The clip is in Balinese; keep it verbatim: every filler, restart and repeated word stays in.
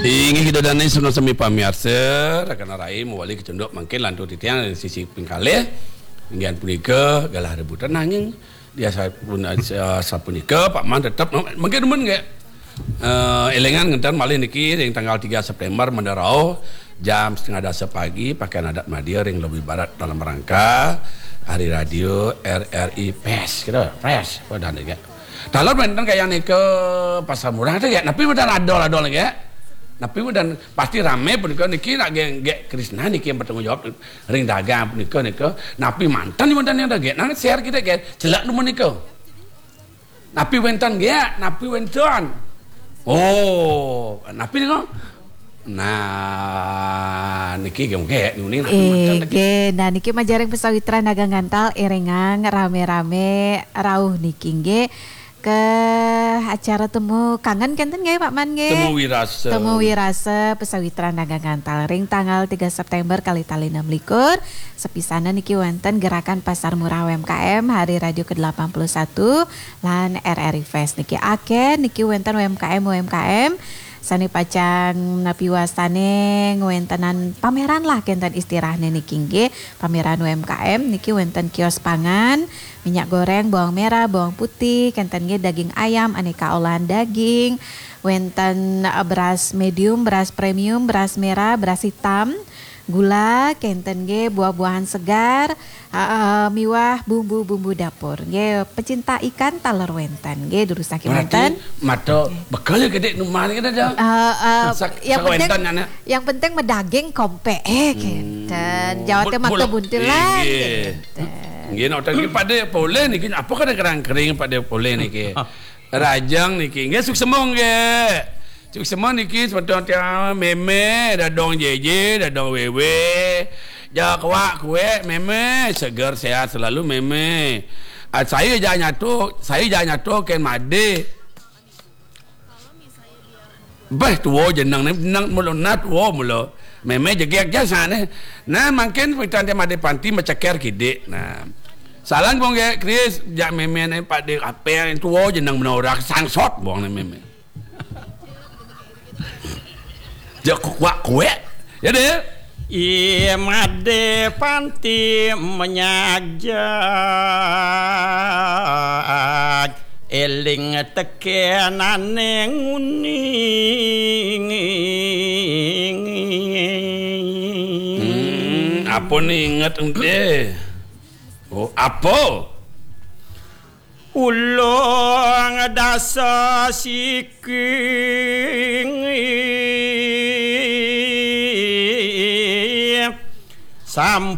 Inggih, kita dane sami pamiarsa, rakan rai mawali kacunduk mangkin lantur titiang sisi pingkalih. Inggih punika galah rebutan nanging dia sapun-, sapunika Pak Man tetep mangkin demen nggih. Eh, elingan ngenten malih niki ring tanggal tiga September Mendarau jam setengah dasa pagi pakaian adat Madya ring lobi barat dalam rangka Hari Radio R R I Fest. Kita Fest apa dah niki? Taler wenten kaya nika Pasar Murah tu ya, napi wenten adol-adol niki ya? Napi wenten pasti rame punika niki nak geng gek Krisna niki yang bertanggung jawab ring dagang punika nika. Napi manten wenten yang dagang nang share kita ke celak nomor nika. Napi wenten gek, napi wenten. Oh, napi nika? Nah, niki geng gek nuning napi manten niki. Nggih, nah niki majaring pesawitran dagang gantal iringang rame-rame rauh niki nggih. Ke acara temu kangen kenten nggih Pak Man nggih? Temu wirasa. Temu wirasa pesawitran dagang gantal ring tanggal tiga September kali tali enam likur. Sepisanan niki wenten gerakan Pasar Murah U M K M Hari Radio ke delapan puluh satu lan R R I Fest niki. Aken niki wenten U M K M U M K M sane pacang napi wastane ngwentenan pameran lah kenten istilahne niki nggih. Pameran U M K M niki wenten kios pangan, minyak goreng, bawang merah, bawang putih, kenten nggih daging ayam, aneka olahan daging, wenten eh, beras medium, beras premium, beras merah, beras hitam, gula, kenten nggih buah-buahan segar, eh, miwah bumbu-bumbu dapur. Nggih, pecinta ikan taler wenten nggih durusake manten. Mata bekal ya gede numan kita dah. Eh, eh, Sak- yang penting sakwenten anak. Yang penting medaging kompe eh kenten. Jawate maka buntilan. Nggih. Nggih, nak tadi pada poleh niki apa kada kerang kering pada poleh niki. Rajang niki. Nggih, suksema nggih. Suksema niki semeton tiang meme, dadong jeje, dadong wewe. Ja kuak kuek meme, seger sehat selalu meme. Ah, saya ja nyatu, saya ja nyatu ken made. Bah, tua jeneng ni, jeneng mula na tua mula. Meme jegek ja sane. Nah, mangkin pitan dia made panti maceker kidik. Nah. Salam bong ge Kris, jak meme ni pak de apa yang tua jeneng menorak sangsot bong ni meme. Jak kuak kuek. Ya deh. Imade panti menyajak eling tekenane nguning. Hmm, apa ni ingat ente? Oh, apa? Ulung dasa siking sampun